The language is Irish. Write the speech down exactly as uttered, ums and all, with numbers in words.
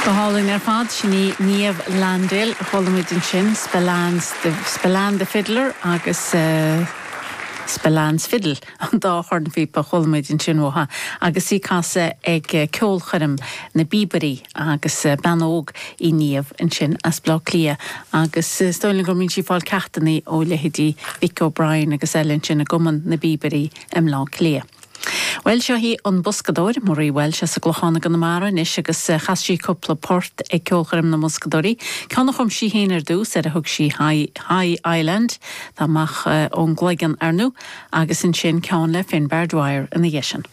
Go hálainn ar fad sin í Niamh Landale a chuala muid ansin Spillane's Spillane the Fiddler agus uh, Spillane's Fiddle an dá chornphíopa a chuala muid ansin uaithi agus í ag casadh ag eh, ceolchoirm na bPíobairí agus eh, bean óg í Niamh ansin as Bleá Cliath agus eh, stóilin go mbíonn sí ag fáil ceachtanna ó leithéidí Vic O'Brien agus eile ansin i gCumann na bPíobairí i mBleá Cliath. Well seo í an boscadóir Marie Walsh as an gClochán i gConamara anois agus eh, chas sí cúpla port ag ceolchoirm na mboscadóirí. Ceann a chum sí féin ar dtús ar a thug sí High Island tá amach eh, ón gCloigeann arnú agus ansin ceann le Finbar Dwyer ina dhiaidh sin.